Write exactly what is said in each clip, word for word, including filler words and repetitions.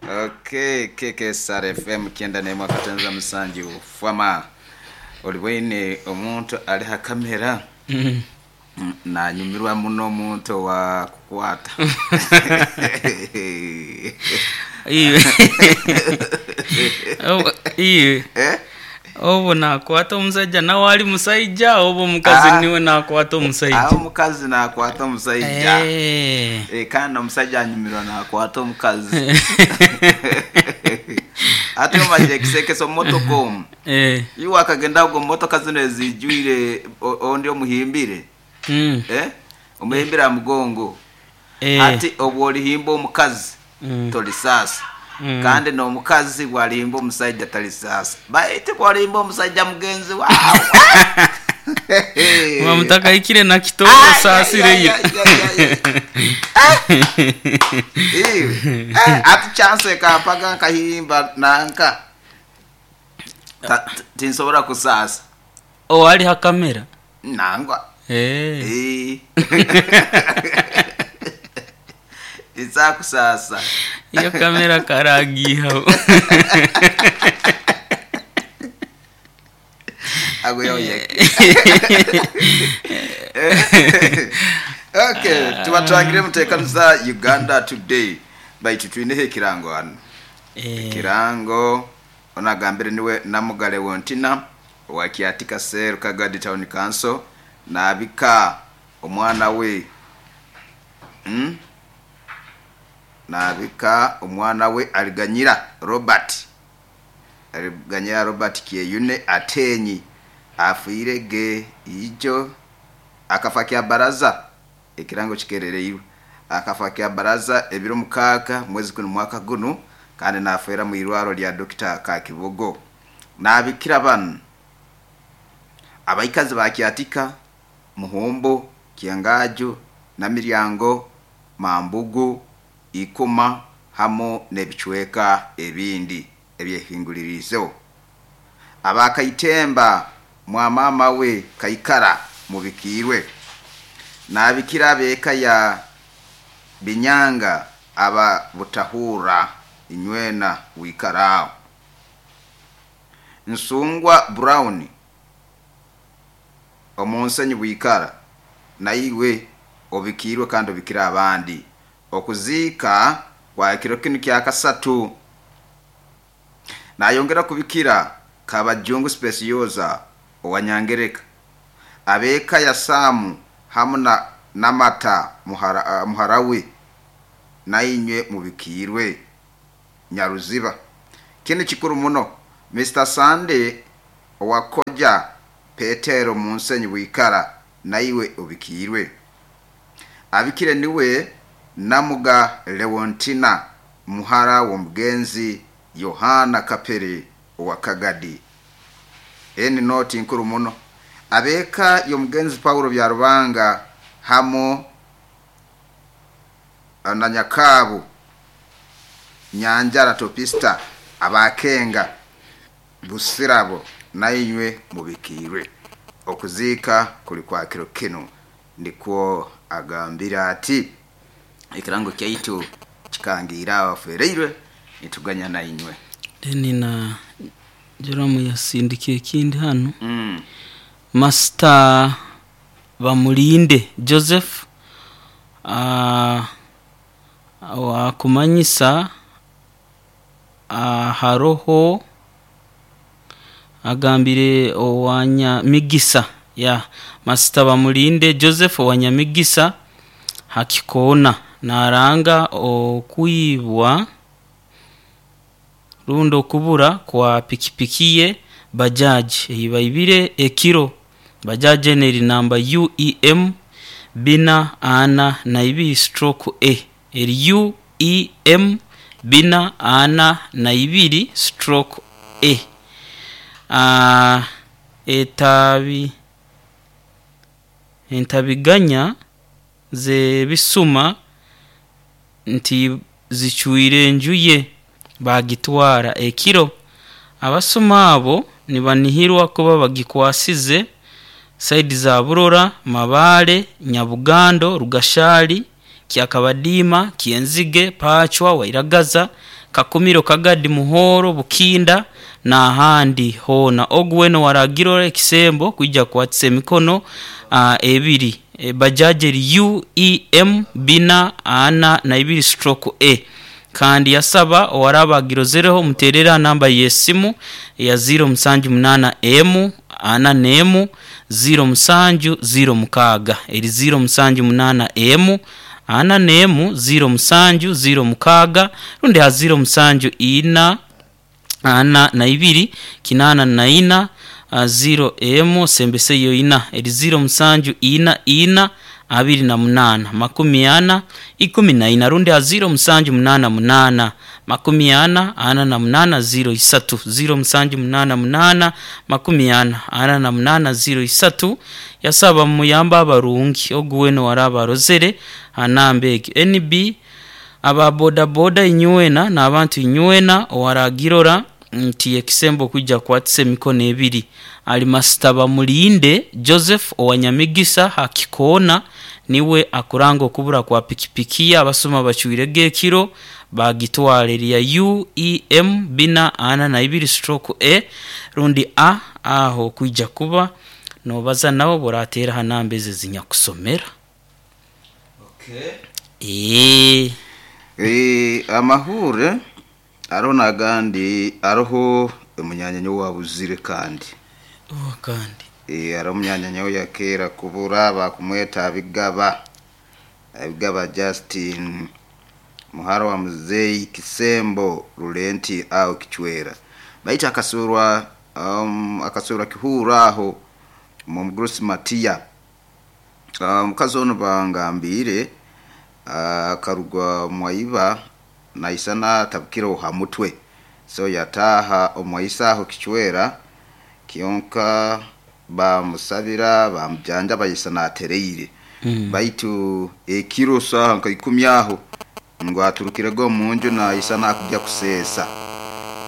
Okay, K K S R F M kyenda n'emu akatenza musanju fama olibwaine omuntu ali ha kamera. Mm. Mm, nanyumirwa muno omuntu owa kukwata. Iwe. Obu- iwe Eh? Obu nakwata omusajja nawe ali musaija oba omukazi? Ah. Niwe nakwata omusaija. Aho omukazi nakwata omusaija. Eh. Eh, kandi omusajja anyumirwa nakwata omukazi ate omaze ekisekesa omumotoka omu. Eh. Iwe akagenda ago motoka zino ezijwire o- ondi omuhimbire. Mm. Eh? Omuhimbire aha mugongo. Eh. Ati obwo olihimba omukazi, Mm. tolisaasa. Mm. Kandi n'omukazi bwalihimba omusajja talisaasa, baitu bwalihimba omusajja mugenzi wawe. Muba mutakahikire na kitoro osaasire yo. Iwe, eh, ati chance ekampaga nkahimba nanka. Ta- t- tinsobola kusaasa. Owali ha kamera? Nangwa. Eh. Eh. Tinsakusaasa. Iyo kamera karagihaho. Aguyoyeke. Okay, tubatwangire muteekaniza Uganda Today, baitu twineho ekirango hano. Eh. Ekirango onagambire niwe Namugale Wontina owa Kiatika Cell, Kagadi Town Council, nabika omwana we, mm? Nabika omwana we Aliganyira Robert, Aliganyira Robert Kyeyune Atenyi, afiire ge ijo akafa kya baraza. Ekirango kikerereirwe akafa kya baraza ebiro mukaaga mwezi guno mwaka guno, kandi nafeera mu irwaro lya Dokita Kakibogo. Nabikira banu abaikazi ba Kyatika, Muhombo, Kyangaju, Namiryango, Mambugu, Ikuma hamo n'ebicweka ebindi ebyehingulirizeho. Abakaitemba mwamama we Kaikara mubikiirwe. Nabikira ab'eka ya Binyanga aba Butahura inywena wikaraaho. Nsungwa Brown omunsenyi bwikara naiwe obikiirwe kandi obikira abandi. Okuziika kwa kiro kinu kya kasatu. Nayongera kubikira Kabajungu Specioza owanyangereka, ab'eka ya Samu hamu na Namata muhara, uh, muhara we nainywe mubikiirwe Nyaruziba. Kinu kikuru muno. Mister Sunday owakoja Petero munsenyi bwikara naiwe obikiirwe. Abikire niwe Namuga Leontina muhara w'omugenzi Yohana Kapere owa Kagadi. Eni noti nkuru muno. Ab'eka y'omugenzi Paulo Byarubanga hamo na Nyakabu Nyanjara Topista abakenga Busirabo nainywe mubikiirwe. Okuziika kuli kwa kiro kinu. Nikwo agambira ati ekirango kyaitu kikangiira abafereirwe nituganya nainywe. Then na Joramu yasindikiye ekindi hano. mm. Master Bamulinde Joseph uh, wakumanyisa uh, haroho agambire owanyamigisa ya Master Bamulinde Joseph owanyamigisa hakikoona naranga okwibwa rundi okubura kwa pikipiki ye bajaji eyibaibire ekiro. Bajaji eno eri namba U E M bina ana na ibiri stroke A, eri U E M bina ana na ibiri stroke A. Ah, etabi entabiganya zebisuma nti zicwire enju ye bagitwara ekiro. Abasuma abo nibanihirwa kuba bagikwasize side za Burora, Mabale, Nyabugando, Rugashali. Kyakabadiima, Kyenzige, Pachwa, Wairagaza, Kakumiro, Kagadi, Muhoro, Bukinda n'ahandi hoona. Ogu wena waragirora ekisembo kwija kukwatisa emikono uh, ebiri. E, bajaji eri U E M bina ana na ibiri stroke A. Kandi yasaba owaraba agirozereho muterera namba y'esimu ya ziro musanju munana emu ana nemu ziro musanju ziro mukaaga, eri ziro musanju munana emu ana nemu ziro musanju ziro mukaaga, rundi ha ziro musanju ina ana na ibiri kinana na ina ziro emu sembese yo ina, eri ziro musanju ina ina abiri na munana makumi ana ikumi na ina, rundi ha ziro musanju munana munana makumi ana ana na munana ziro isatu, ziro musanju munana munana makumi ana ana na munana ziro isatu. Yasaba muyamba abarungi ogu weno waraba arozere anamba egi N B aba boda boda inywena n'abantu inywena owaragirora nti ekisembo kwijja kukwatisa emikono ebiri. Ali Masitaba Mulinde Joseph owanyamigisa hakikoona niwe akuranga okubura kwa pikipiki abasoma bacwirege ekiro bagitwara erya U E M bina ana na ibiri stroke A rundi A aho kwijja kuba nobaza nabo boratera hanamba ezi zinyakusomera. Okay. Eh. Eh, amahure ariho n'agandi ariho umunyanyanyo wabuzire kandi. Oh, kandi. Eh, ariho umunyanyanyo yakera kubura bakumweta abigaba. Abigaba Justin muhara wa muzei Kisembo Rulenti au Kichwera. Baita akasurwa um, akasurwa kihura aho mu Mugrusi Matia. Omukazi ono bangambire akarugwa mwaiba naisana tabukira ha mutwe, so yataha omwaisa aho Kichwera kionka bamusabira bamujanja bayisana atereire. Mm. Baitu ekiro saha nka ikumi aho ngo aturukire go munju na isana akujya kusesa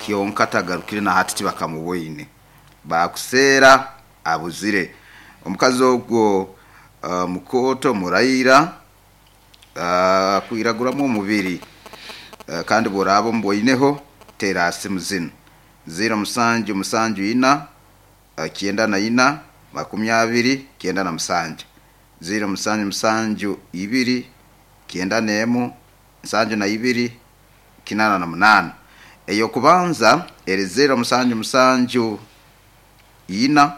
kionka tagarukire na hatiti bakamuboine bakusera abuzire. Omukazi ogwo uh, mukoto muraira uh, kwiraguramu omubiri uh, kandi borabo mboineho terasi muzino ziro musanju musanju ina uh, kienda na ina makumi abiri kienda na musanju ziro musanju musanju ibiri kienda nemu musanju na ibiri kinana na munana. Eyo kubanza eri zero musanju musanju ina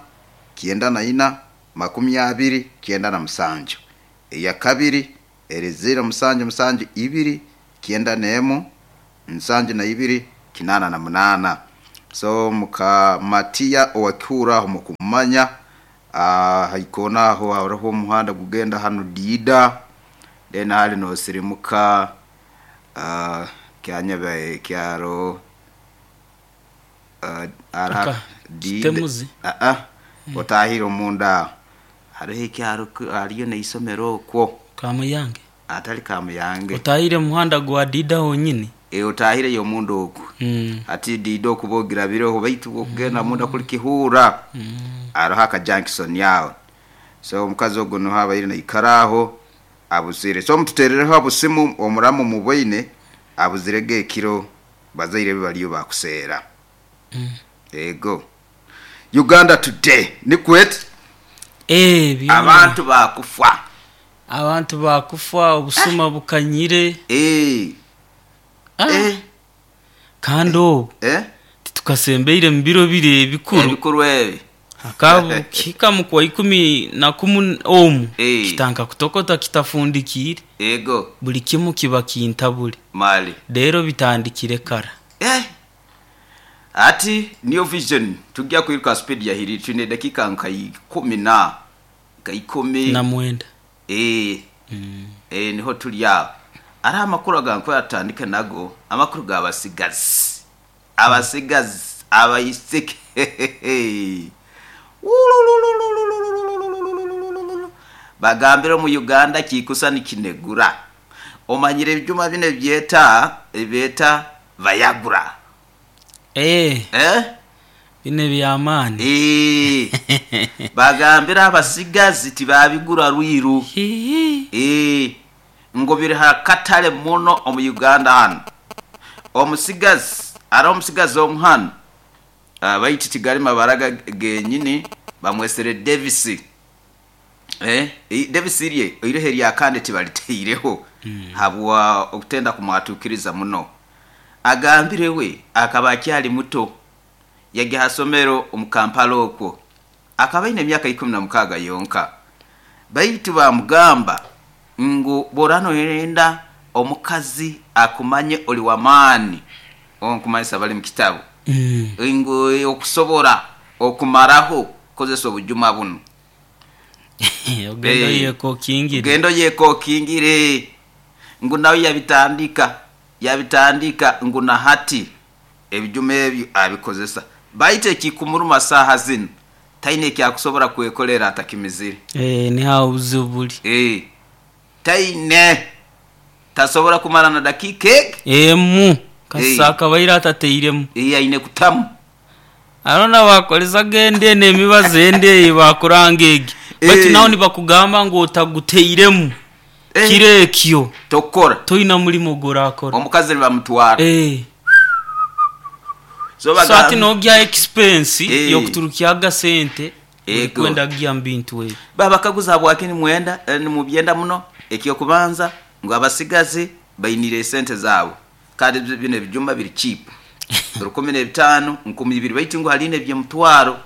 kienda na ina makumi abiri kienda na musanju. Eya kabiri eri zero musanju musanju ibiri kienda nemu musanju na ibiri kinana na munana. So muka Matia owakura mukumanya ah haikona aho hariho umuhanda gugenda hano Dida then hali no sirimuka ah kyanyabe kyaro uh, ara Dida ah ah otahira omunda hariho ekyaro hariyo neisomero okwo Kamuyange atali Kamuyange otahire muhanda gwa Dida honyini e otahire yo munda okwo mm. ati Dida okubogira biroho baitu okugenda mm. munda kuli Kihura mm. ariho aka junction yawo. So omukazi ogwo no habaire naikaraho abuzire. So mututerereho abusimu omuramu muboine abuzirege ekiro bazaire baliyo bakuseera. Mm. Ego Uganda Today nikwet eh abantu bakufa abantu bakufa obusuma bukanyire eh ah. eh kandi obu eh titukasembeire mu biro bire ebikuru ebikuru ebi akabu kika kwa ikumi na kumu omu Eh. kitanka kutokota kitafundikire ego buli kimu kiba kintabule mali rero bitandikire kara eh ati New Vision tujya kwiruka speed ya hiri tune dakika nka ikumi na nka ikumi na mwenda eh mm. eh niho turi aho ari amakuru aganko yatandika nago amakuru gabasigazi abasigazi abayiseke bagambira mu Uganda kikusa nikinegura omanyire ebyuma bine byeta ebeta Viagra eh eh bine byamani eh bagambira abasigazi tibabigura rwiru Hihi. eh Ngo biri hakatale muno omu Uganda hano. Omusigazi ari omusigazi omu hano, uh, baitu tigali mabara genyini, bamwesere Davis. eh Davis rye oirehe rya kandi tibaliteireho mm. habwa okutenda kumwatukiriza muno. Agambire we akaba akyali muto, yajya hasomero omu Kampala okwo, akaba aine emyaka ikumi na mukaaga yonka. Baitu bamugamba ngu borano yenda omukazi akumanye oli wamaani, onkumanyisa bali mu kitabu Mm. ngu okusobora okumaraho kozesa obujuma buno. Ogendo Eh. yeko kingire. Gendo yeko kingire ngu nawe yabitandika yabitandika ngu na hati ebijuma ebyo abikozesa. Baite ekikumuruma saaha zino taine ekyakusobora kwekolera atakimizire. Eh, ni hawo obuzibu buli. Eh, taine tasobora kumara na dakika ege. Emu kasisa Eh. akabaire atateiremu. Eh, aine kutamu. Arona bakoleza gende n'emibazi ende bakuranga egi. Eh. Baitu naho nibakugamba ngu otaguteiremu Eh. kiro ekyo tokora toina mulimo gorakora. Omukazi nibamutwara. Eh. So So ati bagamba nogya expense Eh. yokuturukyaga sente Ego. kwenda gya mbintu ebyo. Babakaguza habwaki nimwenda, eh, nimubyenda muno. Ekyokubanza ngu abasigazi bainire esente zaabo, kandi bi- bino ebijuma biri cheap, rukumi n'ebitaano, nkumi ibiri, baitu ngu haline ebyemutwaro,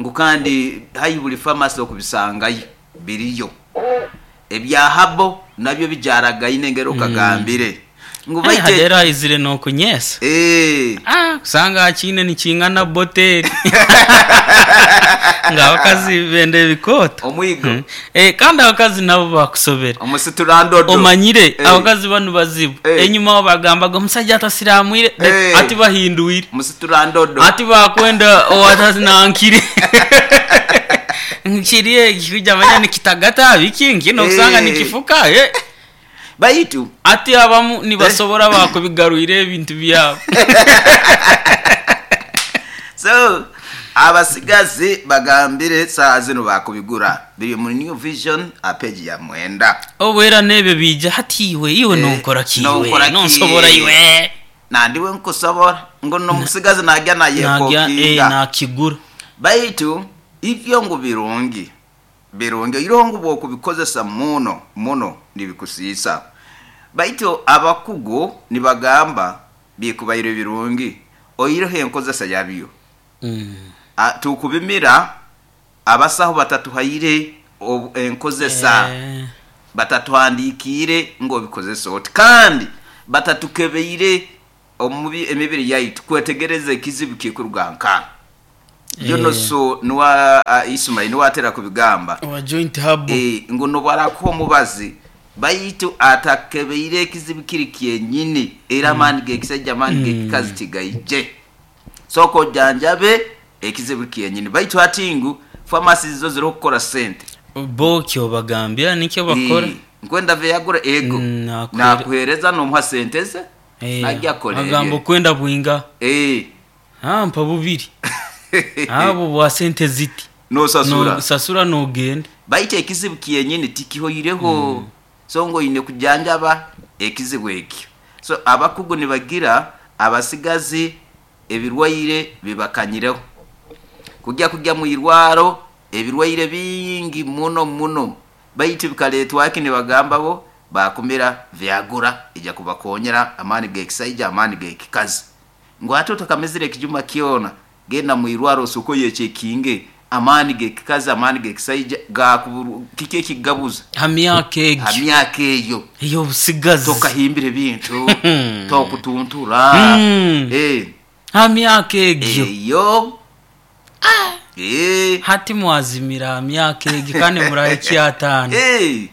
ngu kandi hayi buli famasi okubisangayo biriyo. Ebya habo nabyo bijaragaine engeri okagambire ngu Eh, baite hadera izire nokunyesa. Eh, Ah, kusanga akine nikingana boteri nga abakazi benda ebikoota. Omwigo. Mm. Eh, kandi abakazi nabo bakusobera. Omusiturandodo. Omanyire Eh. abakazi banu bazibu. Eh. Enyuma aho bagambaga omusajja atasiramwire, Eh. ati bahinduire, Omusiturandodo. ati bakwenda owatazinankire nkiri ekikuja manya nikitagata biki nkino kusanga Eh. nikifuka eh. Baitu Ati abamu nibasobora bakubigarwire ebintu byabo. So abasigazi bagambire saa zino bakubigura biri mu New Vision a page ya mwenda. Obwera n'ebyo bija hati iwe iwe Eh, nonkora ki nonkora iwe ki? nonsobora iwe. Nandiwe nkusobora ngo nomusigazi najya Nagya eh, nayekokinga. nakigura. Baitu ivyo ngu birungi birungi irongo bwokubikozesa muno muno nibikusiisa. Baitu abakugu nibagamba bikubaire birungi oireho enkozesa yabyo. Mm. A- tukubimira abasaho batatuhaire obu- enkozesa. Eh, Batatuhandikiire ngo obikozesa oti, kandi batatukebeire omubi emibiri yaitu kwetegereza ekizibu kikuruga nka yono. Eh. So nuwa uh, Ismail niwatera kubigamba wa joint hub. Eh, ngo nobwarakuha omubazi baitu atakebeire ekizibu kiri kyenyini, era amaani gekisajja amaani gekikazi tigaije, sooka ojanjabe ekizibu kyenyini. Baitu hati ngu famasi zo ziriho kukora sente. Bo kyo bagambira nikyo bakora. Eh, nkwenda veyagura ego. Mm, nakuhere- Nakuhereza nomuha sente ze Eh, najya akora agamba ebye. okwenda bwinga. Eh. Ah, mpa bubiri abo bwa sente ziti. Nosasura. No- sasura nogenda. Baitu ekizibu kyenyini tikihoireho, so ngo oine kujanjaba ekizibu ekyo. So abakugu nibagira abasigazi ebirwaire bibakanyireho kujya kujya mu irwaro ebirwaire bingi muno muno, baitu bikaletwaki nibagamba bo bakumira vyagura ija kubakonyera amaani gekisaija amaani gekikazi, ngu ate otakamizire ekijuma kyona genda mu irwaro osoko yechekinge amaani gekikazi amaani gekisaija gakuburu kiki ekigabuza. Ha myaka Ha egyo myaka eyo ey'obusigazi tokahimbira ebintu tokutuntura. Mm. Eh, ha myaka egyo. Eyo. Eh. Hati mwazimira ha myaka egyo kandi murahe ataano. Eh.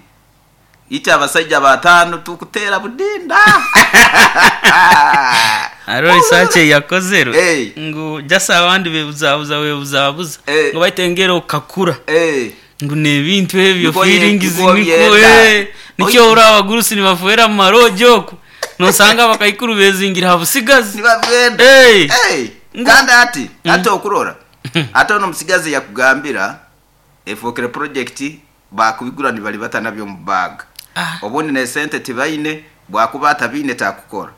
Ite abasajja batano tukutera budinda. Hariho research eyakozerwe Eh. ngu jasa abandi bebuzabuza webuzabuza Eh. ngu baitengera okakura Eh. ngu nebintu ebyo Niko ye- feelings niko niko byenda. eh, nikyo ori abagurusi nibafuera mu maroji oku nosanga abakaikuru bezingira ha busigazi. Nibagenda. Eh. Eh. Ngu- Kandi ati ate okurora ate ono musigazi yakugambira efokere project bakubigura nibali batanabyo mu bag. Ah. Obundi nesente tibaine, bwakuba atabiine takukora.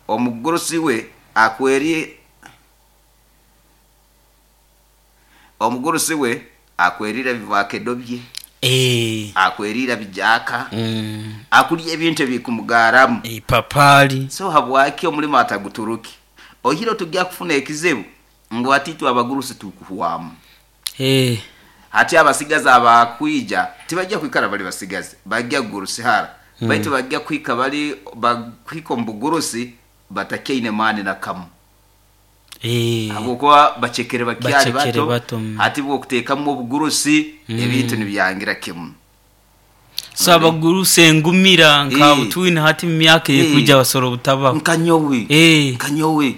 Omugurusi we akweri omugurusi we akwerira bivakedo bye, Eh. akwerira bijaka, Mm. akulya ebintu ebikumugaramu. Ipapali. So habwaki omulimo ataguturuki? Ohiro tujja kufuna ekizibu ngu atitu abagurusi tukuhwamu. Eh. Hati abasigazi abakwija tibajja kwikara bali basigazi, bajja kugurusihara. Mm. Baitu bajja kwika bali bakwika omu bugurusi batakyaine maani na kamu. Eh. Habwokuba bacekere bakyali Bacekere bato, bato, mm. hati bwokuteekamu obugurusi Mm. ebintu nibyangira kimu. So abagurusi engumira nka Eh. butwine hati mu myaka Eh. ekuja basoro butabaho. Nkanyowe. Eh. Nkanyowe.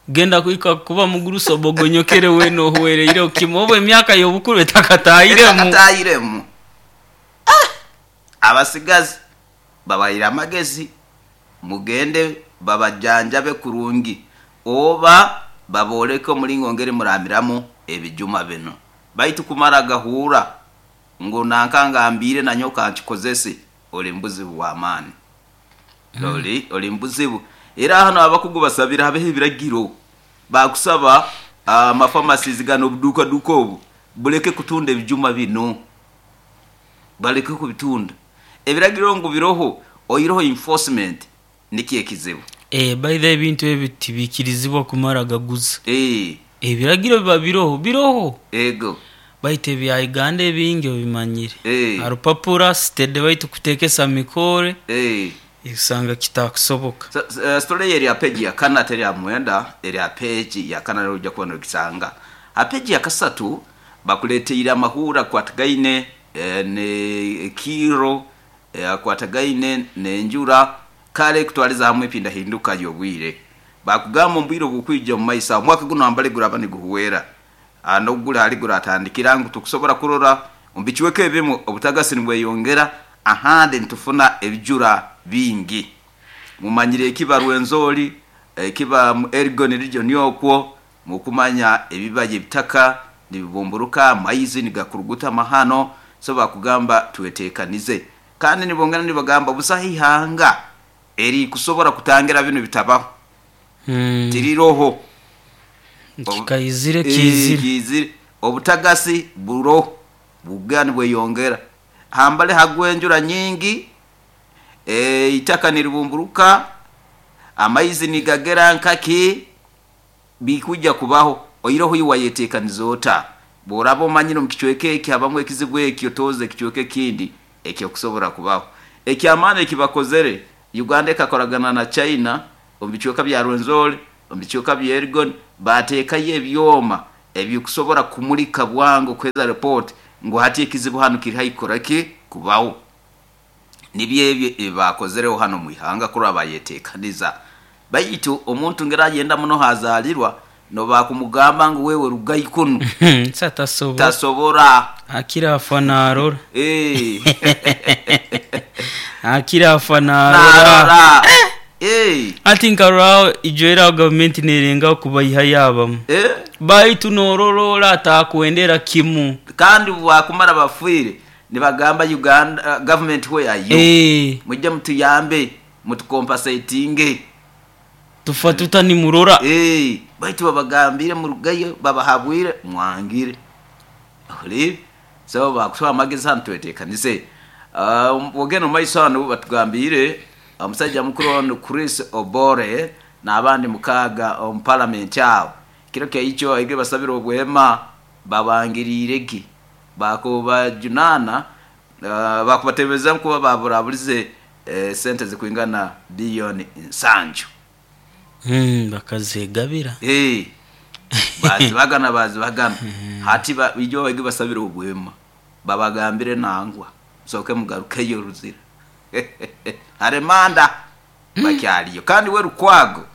Genda kuika kuba mugurusi obogonyokere weno ohuwereire okimo obu emyaka y'obukuru etakatahiremu. Etakatahiremu. Ah! Abasigazi babayire amagezi, mugende babajanjabe kurungi oba baboleke omulingo ngeri muramiramu ebijuma bino. Baitu kumara gahura ngu nankangambire nanyoka nkikozese, oli mbuzibu bw'amaani. Mm. Oli oli mbuzibu. Era hano abakugu basabira habeho ebiragiro bakusaba amafamasizi gano obuduuka duuka obu buleke kutunda ebijuma bino, baleke kubitunda. Ebiragiro ngu biroho, oyiroho enforcement nikyo ekizibu. Eh, by the ebintu ebi tibikirizibwa kumara gaguza. Eh. Ebiragiro biba biroho, biroho. Ego. Baitu ebya Uganda ebingi obimanyire. Eh. Arupapura sitede baitu kutekesa mikore. Eh. Usanga kitakusoboka. So, uh, story eri ya peji ya kana teri ya mwenda, eri ya peji ya kana ujja kuba nokisanga. Ha peji ya kasatu bakuleteire amahura kwatagaine eh, ne kiro eh, kwatagaine nenjura kale kutwaliza hamwe epinda hinduka y'obwire. Bakugamba ombwire obukwija mu maisa omwaka guno ambale guraba niguhuwera. Ano gula hali guratandikira ngu tukusobora kurora ombikiweko ebimu obutagasi nibweyongera ahandi ntufuna ebijura bingi. Mumanyire ekiba Rwenzori, ekiba mu Elgon region yokwo, mukumanya ebibaye ebitaka nibibumburuka, amaizi nigakuruguta mahano, so bakugamba twetekanize. Kandi nibongera nibagamba busahihanga eri kusobora kutangira bino bitabaho. Mm. Tiriroho. Kikaizire Eh, kizire. kizire. Obutagasi buro bugani bweyongera. Hambale hagwenjura nyingi, e, itaka niribumburuka, amaizi nigagera nkaki bikuja kubaho. Oyiroho iwayetekaniza ota. Boraba omanyire mu kichweke eki habamwe ekizibu eki otoze ekichweke kindi ekyo kusobora kubaho. Ekyamaani ekibakozere, Uganda ekakoragana na China omu bichweka bya Rwenzori, omu bichweka bya Elgon, bateekayo ebyoma ebikusobora kumulika bwangu kweza report ngu hati ekizibu hano kiri haikora ki kubaho. Nibyo ebyo ebibakozereho hano mu ihanga kuri abayetekaniza. Baitu omuntu ngera agenda muno hazalirwa no bakumugamba ngu wewe rugayi kunu. Satasobora. Tasobora. Akira afanarora. Eh. Akira afanarora. Narora. Eh. Ati nkarao ijoera government nerenga kubayiha yabamu. Eh. Baitu nororora atakuendera kimu. Kandi wakumara bafuire nibagamba Uganda uh, government where are you? Eh. Mujje mutuyambe mutukompensatinge. Tufa tutani murora. Eh, baitu babagambire murugayo babahabwire mwangire. Oli so bakusaba amagezi hano twetekanise. Uh, wogeno maiso hano batugambire omusajja mukuru ono Chris Obore n'abandi mukaga omu parliament awo. Kiro kya icho aige basabira obwema babangiriire ki bakubajunana, uh, bakubatebeza kuba baburabulize eh, sente zikwingana billioni nsanju. Mm, bakazegabira. Eh. Bazibagana bazibagana. Hati ba, ijo bagi basabira obwema babagambire nangwa soke mugarukeyo ruzira. Haremanda bakyaliyo. Kandi we Lukwago,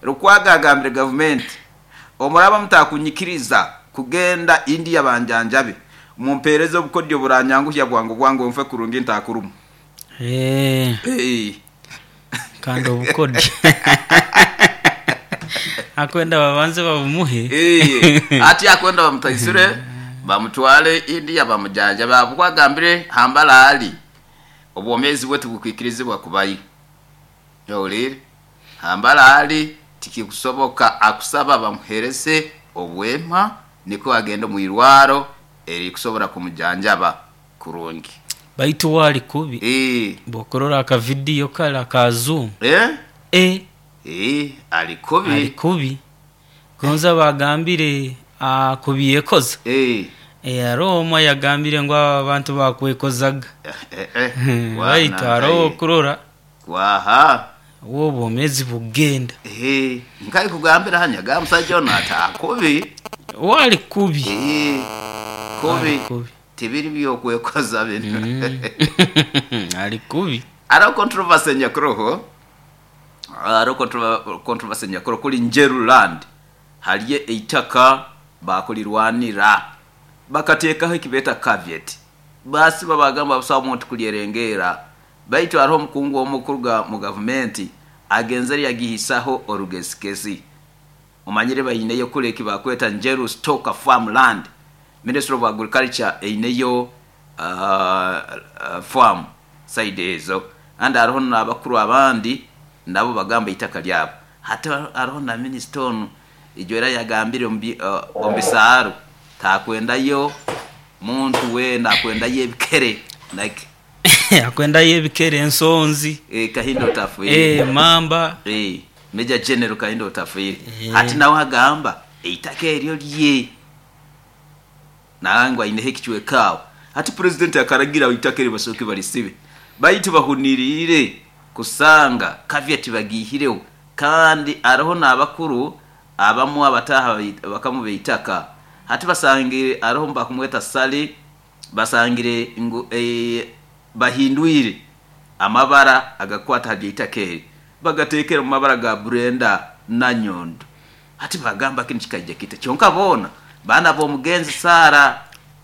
Lukwago agambire government omuraba mutakunyikiriza kugenda India banjanjabe mumpereze obukodyo buranyanguhya bwangu bwangu mfe kurungi ntakurumu. Eh. Eh. Kandi obukodyo. Akwenda babanze babumuhe. Eh. Ati akwenda bamutaisire bamutwale India bamujanja bakwagambire hambala ali. Obwomeezi bwe tibukwikirizibwa kubayo. Owulire? Hambara ali tikikusoboka, akusaba bamuherese obwema niko agenda omu irwaro erikusobora kumujanjaba kurungi. Baitu wali kubi. Eh. Bwokurora akavidiyo kale aka Zoom. Eh? Eh. Eh, ali kubi. Ali kubi. Gonza bagambire akubyekoza. Eh. Eh, hariho yagambire ngu abantu bakwekozaga. Eh, eh, eh. Baitu hariho okurora. Waha. Wo obwomeezi bugenda. Eh, nkai kugambira hanya ga musajja ono atakubi. Wali kubi. Eh. Kubi. Kubi. Tibiri byokwekoza bino. Mm. Ali kubi. Hariho controversy nyakuroho. Hariho controversy nyakuroho kuli Njeru land. Haliyo eitaka bakulirwanira. Bakateekaho ekibeta caveat. Basi babagamba busawo omuntu kulyerengera. Baitu hariho omukungu omukuruga mu gavumenti agenzere yagihisaho orugezigezi. Omanyire baineyo kule ekibakweta Njeru Stock Farmland. Ministry of Agriculture eineyo uh, uh, farm side ezo. And hariho n'abakuru abandi nabo bagamba itaka lyabo. Hata hariho na minister onu ijo era yagambire omu uh, omubisaaro takwendayo muntu weena akwendayo ebikere like akwendayo ebikere ensonzi. Eh, Kahinda Otafiire. Eh, mamba. Eh, Major General Kahinda Otafiire. Eh. Hati nawe agamba eitaka eryo lye nangwa aineho ekicwekaawo. Hati president akaragira eitaka eryo basooke balisibe. Baitu bahuniriire kusanga caveat bagihireho, kandi hariho n'abakuru abamu abataha bakamu beitaka. Hati basangire hariho bakumweta Sali, basangire ngu eh, bahindwire amabara agakwata ha eitaka eri bagatekera mu mabara ga Brenda na Nyondo. Hati bagamba kinu kikaija kita kyonka boona baana b'omugenzi Sara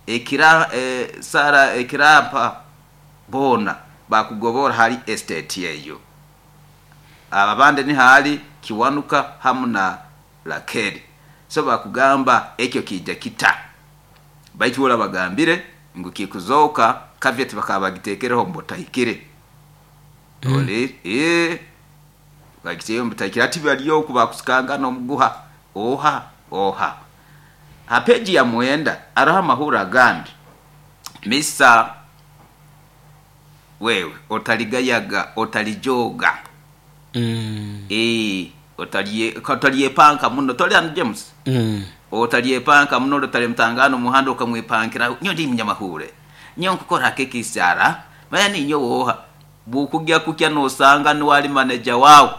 ekira eh, Sara ekirampa boona bakugobora hali estate eyo. Ababande ni hali Kiwanuka hamu na Rakeli. So bakugamba ekyo kija kita. Baitu wala bagambire ngu kikuzoka caveat bakaba bagitekereho mbotahikire. Mm. Ole eh bagiteyo mbotahikire ati baliyo kubakusikanga n'omuguha oha oha. Ha peji ya mwenda araha amahura agandi. Misa wewe otaligayaga otalijoga. Mm. Eh otaliye otaliyepanka muno toli and James. Mm. Otaliyepanka muno otali mtangano muhando ukamwipankira nyo ndi munyamahure. Nyo nkukora keki sara maya ninyo woha bukugya kukya nosanga ni wali manager wawe.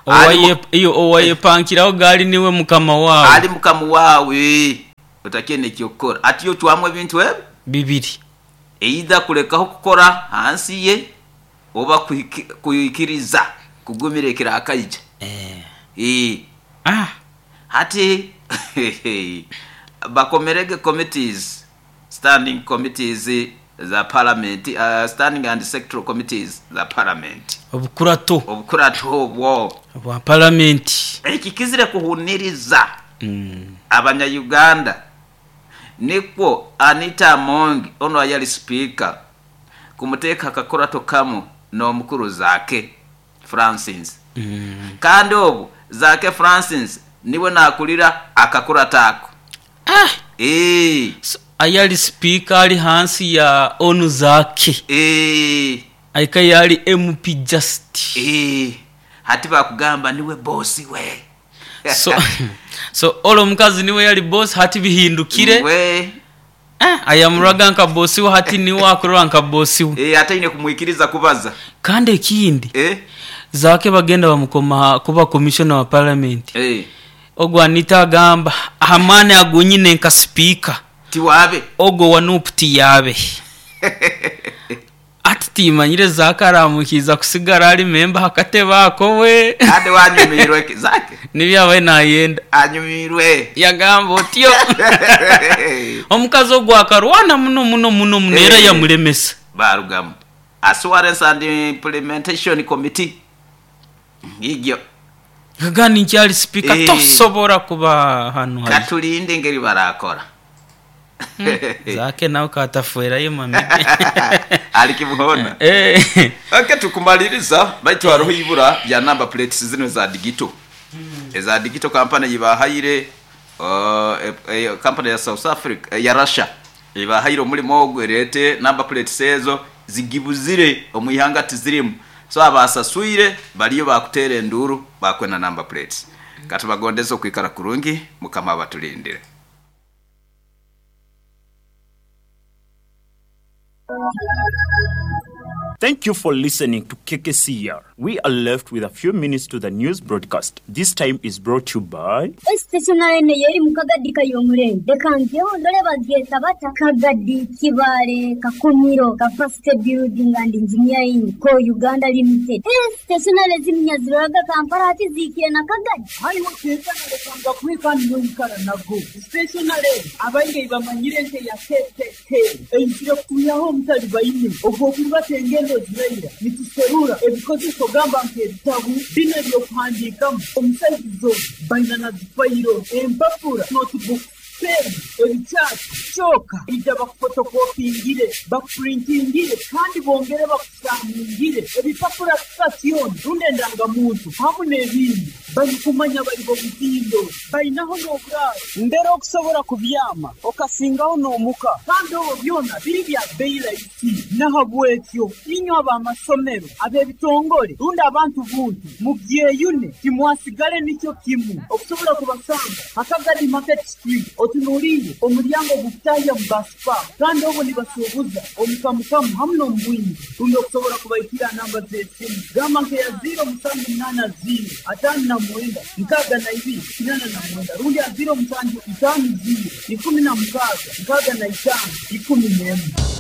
Owaye iyo owayepankiraho gali niwe mukama wawe. Ali mukama wawe otakene kyokora ati yo twamwe bintu ebyo bibiri. Either kulekaho kukora hansi ye oba kuikiriza kugumirekera akaija. Eh. Eh. Ah. Hati bakomerege committees, standing committees za parliament, uh, standing and sectoral committees za parliament. Obukurato. Obukurato obwo bwa parliament. Ekikizire kuhuniriza mm. abanya Uganda nikwo Anita Among ono ayali speaker kumuteka akakurato kamu n'omukuru Zake Francis. Mm. Kandi obu Zake Francis niwe nakulira akakurata ako. Ah. Eh. So, ayali speaker ali hansi ya onu Zake. Eh. Aika yali M P just. Eh. Hati bakugamba niwe boss we. So so olo mukazi niwe yali boss hati bihindukire. We. Eh, ayamuraga nka boss we hati niwe akurora nka boss we. Eh, ate ine kumwikiriza kubaza. Kandi ekindi. Eh. Zake bagenda bamukoma kuba commissioner wa parliament. Eh. Ogwo Anita agamba hamane agunyine nka speaker. Tiwabe. Ogwo wanuputi yabe. Ati timanyire Zake aramukiza kusigara ali member hakateba akowe. Ade wanyumirwe Zake. Nibyabaye nayenda. Anyumirwe. Yagamba otyo. Omukazi ogwo akarwana muno muno muno muno era yamulemesa. Barugamu. Assurance and Implementation Committee. Ngigyo. Gani nkyali speaker Eh. tosobora kuba hano hari. Katulinde ngeri barakora. Zake nawe katafuerayo mami. Alikimuhona. Eh. Okay, tukumaliriza baitu hariho ibura ya number plates zino za digital. Mm. Eza digital company yibahayire uh, e, company ya South Africa ya Russia ibahayire omulimo ogwo erete number plates ezo zigibuzire omwihanga tizirimu. So abasasuire baliyo bakutera enduru bakwena number plates. Katubagondeza okwikara kurungi mukama abatulindire. Thank you for listening to K K C R. We are left with a few minutes to the news broadcast. This time is brought to you by Stationary ne yeri mukagadi kayomure. Dekantyo ndole bageta bata Kagadi Kibale Kakumiro Capacity Building and Engineering Co Uganda Limited. Stationary ziminyaziraga Kampala ati zikire na Kagadi. Hayi wakeza ndekanga kwika nyonkara nago. Stationary abainge bamanyire nte ya K K K. Einjira kuyaho mutali bayine. Ogwo tenge ziraira nituserura ebikozeso gamba nk'ebitabu bino ebyokuhandiikamu omusaizo baina na zifayiro empapura notebook pen ebikyati kyoka ija bakufotokopingire bakupurintingire kandi bongere bakusamungire ebipapura sitasioni rundi endangamuntu hamu n'ebindi barikumanya bari bomutindo bainaho n'oburaaro mbere okusobola kubyama okasingaho n'omuka kandi obwo byona biri bya beyi rahisi nahabwekyo inywe ab'amasomero ab'ebitongole rundi abantu buntu mubyeyune timwasigale nikyo kimu okusobola kubasanga Akagadi Market Street otunuulire omulyango gukutahya mu basipa kandi obwo nibasuubuza omukamukamu hamu n'omubwingi rundi okusobola kubaikira namba z'esimu gamba nkeya ziro musanju munaana ziro ataano na mwenda nkaaga na ibiri kinana na mwenda rundi ya ziro musanju itaano ziro ikumi na mukaaga nkaaga na itaano ikumi n'emwe.